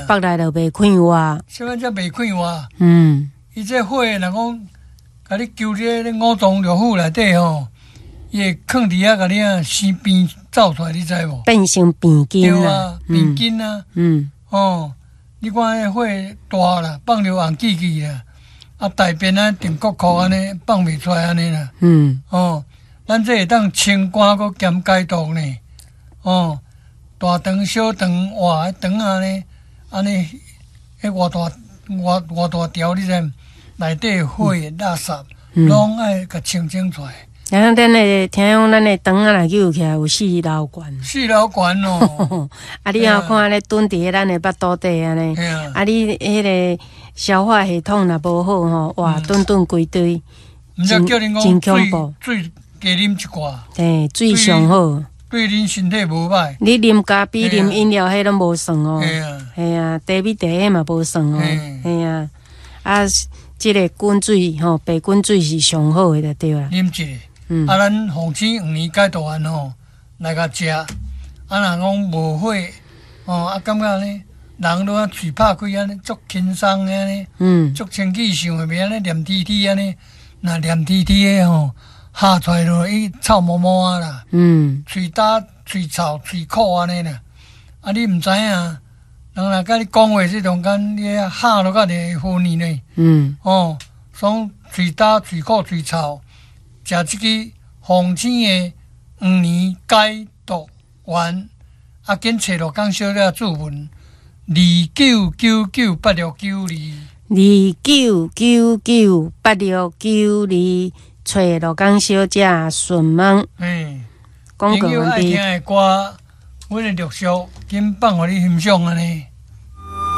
腹內就袂快活。啥物才袂快活？伊這火若講，共你揪佇咧五臟六腑內底吼，伊會囥佇遐，共你啊生病走出來，你知無？變成病菌。對啊，病菌啊。哦，你看彼火大啦，放著紅記記啦，啊大便啊定國庫按呢放袂出來按呢啦。哦，咱這會當清肝閣兼解毒呢。哦，大腸小腸哇，腸按呢按呢，彼偌大偌偌大條，你知毋？內底火垃圾攏愛共清清出來。啊，咱的聽講，咱的腸仔若揪起來有四樓懸。四樓懸哦。啊，你若看按呢蹲佇咱的腹肚底按呢，啊，你彼个消化系統若無好吼，哇，頓頓規堆。毋才叫恁真講恐怖。水水加啉一寡。對，水上好。對恁身體無歹。你啉咖啡、啉飲料，彼攏無算哦。嘿啊。嘿啊，茶米茶彼嘛無算哦。嘿啊，啊，這个滾水吼，白滾水是上好的就對啦。啉一个。啊，咱鳳青黃連解毒丸吼，來共食。啊，若講無火，哦，啊，感覺呢，人攏啊喙拍開按呢，足輕鬆按呢，足清氣想會袂按呢黏黐黐按呢，若黏黐黐的吼，咬出來落伊臭毛毛啊啦，喙焦、喙臭、喙苦按呢啦。啊，你毋知影，人若共你講話這中間，你咬落較會昏去呢。哦，所以喙焦、喙苦、喙臭，食這支鳳青的黃連解毒丸，啊，緊揣鹿港小姐注文29998692。29998692，揣鹿港小姐詢問。廣告朋友愛聽的歌，阮會陸續緊放予你欣賞按呢。